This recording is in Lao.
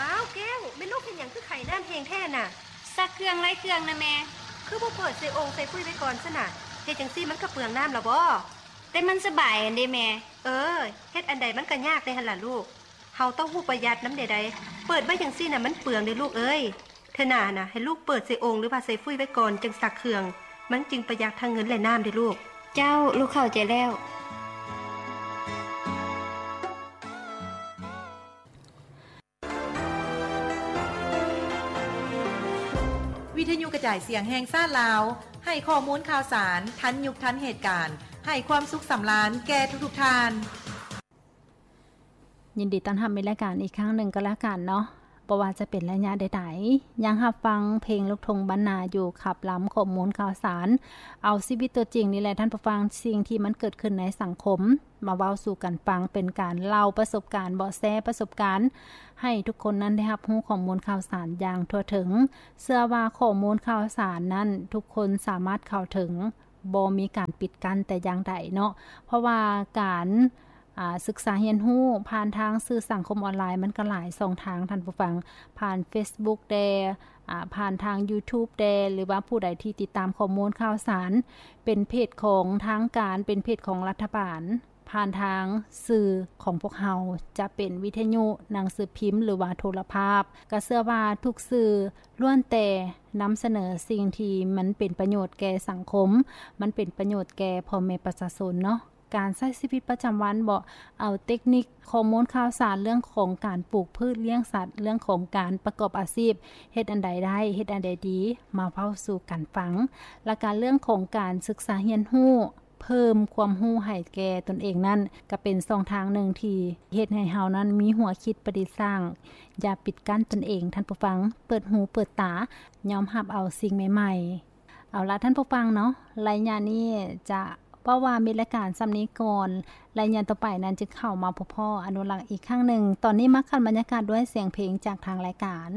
ອ້າວ ແກ້ວ ແມ່ລູກເຮັດຫຍັງຄືໄຂນ້ຳແຮງແທ້ນະ? ຊັກເຄື່ອງໄລ່ເຄື່ອງນະແມ່. ຄືບໍ່ເປີດໃສ່ໂອ່ງໃສ່ຟຸ້ຍໄວ້ກ່ອນຊັ້ນນະ? ເຮັດຈັ່ງຊີ້ມັນກໍເປືອງນ້ຳລະບໍ? ແຕ່ມັນສະບາຍຫັ້ນເດແມ່. ເອີ ເຮັດອັນໃດມັນກໍຍາກແດ່ຫັ້ນລະລູກ. ເຮົາຕ້ອງຮູ້ປະຢັດນຳເດໄດ໋. ເປີດໄວ້ຈັ່ງຊີ້ນະມັນເປືອງເດລູກເອີຍ. ເທື່ອໜ້ານະ ໃຫ້ລູກເປີດໃສ່ໂອ່ງ ຫຼືວ່າໃສ່ຟຸ້ຍໄວ້ກ່ອນຈຶ່ງຊັກເຄື່ອງ. ມັນຈຶ່ງປະຢັດທັງເງິນ ແລະ ນ້ຳເດລູກ. ເຈົ້າ, ລູກເຂົ້າໃຈແລ້ວ. ວິທະຍຸກະຈາຍສຽງແຫ່ງຊາດລາວ ໃຫ້ຂໍ້ມູນຂ່າວສານທັນຍຸກທັນເຫດການ, ໃຫ້ຄວາມສຸກສຳລານແກ່ທຸກໆທ່ານ. ຍິນດີຕ້ອນຮັບໃນລາຍການອີກຄັ້ງໜຶ່ງກໍແລ້ວກັນເນາະ. ບໍ່ວ່າຈະເປັນໄລຍະໃດໆ ຍັງຮັບຟັງເພງລູກທົ່ງບ້ານນາຢູ່, ຂັບລຳຂໍ້ມູນຂ່າວສານ, ເອົາຊີວິດຕົວຈິງນີ້ແຫຼະທ່ານຜູ້ຟັງ, ສິ່ງທີ່ມັນເກີດຂຶ້ນໃນສັງຄົມ ມາເວົ້າສູ່ກັນຟັງ, ເປັນການເລົ່າປະສົບການ, ເບາະແສປະສົບການ ໃຫ້ທຸກຄົນນັ້ນໄດ້ຮັບຮູ້ຂໍ້ມູນຂ່າວສານຢ່າງທົ່ວເຖິງ. ເຊື່ອວ່າຂໍ້ມູນຂ່າວສານນັ້ນທຸກຄົນສາມາດເຂົ້າເຖິງ, ບໍ່ມີການປິດກັ້ນແຕ່ຢ່າງໃດເນາະ, ເພາະວ່າການ ອາ ສຶກສາຮຽນຮູ້ຜ່ານທາງສື່ສັງຄົມອອນລາຍ ມັນກໍຫຼາຍຊ່ອງທາງທ່ານຜູ້ຟັງ, ຜ່ານເຟສບຸກແດ່, ອາ ຜ່ານທາງຢູທູບແດ່ ຫຼືວ່າຜູ້ໃດທີ່ຕິດຕາມຂໍ້ມູນຂ່າວສານ ເປັນເພຈຂອງທາງການ, ເປັນເພຈຂອງລັດຖະບານ, ຜ່ານທາງສື່ຂອງພວກເຮົາ ຈະເປັນວິທະຍຸ, ໜັງສືພິມ ຫຼືວ່າໂທລະພາບ, ກໍເຊື່ອວ່າທຸກສື່ລ້ວນແຕ່ນຳສະເໜີສິ່ງທີ່ມັນເປັນປະໂຫຍດແກ່ສັງຄົມ, ມັນເປັນປະໂຫຍດແກ່ພໍ່ແມ່ປະຊາຊົນເນາະ. ການໃຊ້ຊີວິດປະຈຳວັນເບາະ, ເອົາເຕັກນິກຂໍ້ມູນຂ່າວສານເລື່ອງຂອງການປູກພືດ, ລ້ຽງສັດ, ເລື່ອງຂອງການປະກອບອາຊີບ, ເຮັດອັນໃດໄດ້, ເຮັດອັນໃດດີ, ມາເວົ້າສູ່ກັນຟັງ. ແລະ ກະເລື່ອງຂອງການສຶກສາຮຽນຮູ້, ເພີ່ມຄວາມຮູ້ໃຫ້ແກ່ຕົນເອງນັ້ນ, ກະເປັນຊ່ອງທາງໜຶ່ງທີ່ເຮັດໃຫ້ເຮົານັ້ນມີຫົວຄິດປະດິດສ້າງ. ຢ່າປິດກັ້ນຕົນເອງ, ທ່ານຜູ້ຟັງ, ເປີດຫູເປີດຕາ, ຍອມຮັບເອົາສິ່ງໃໝ່ໆ. ເອົາລະທ່ານຜູ້ຟັງເນາະ, ໄລຍະນີ້ຈະເວົ້າວ່າມີລາຍການສ່ຳນີ້ກ່ອນ, ໄລຍະຕໍ່ໄປນັ້ນຈະເຂົ້າມາພົບພໍ້ອະນຸລັກອີກຄັ້ງໜຶ່ງ. ຕອນນີ້ມາຂັດບັນຍາກາດດ້ວຍສຽງເພງຈາກທາງລາຍການ.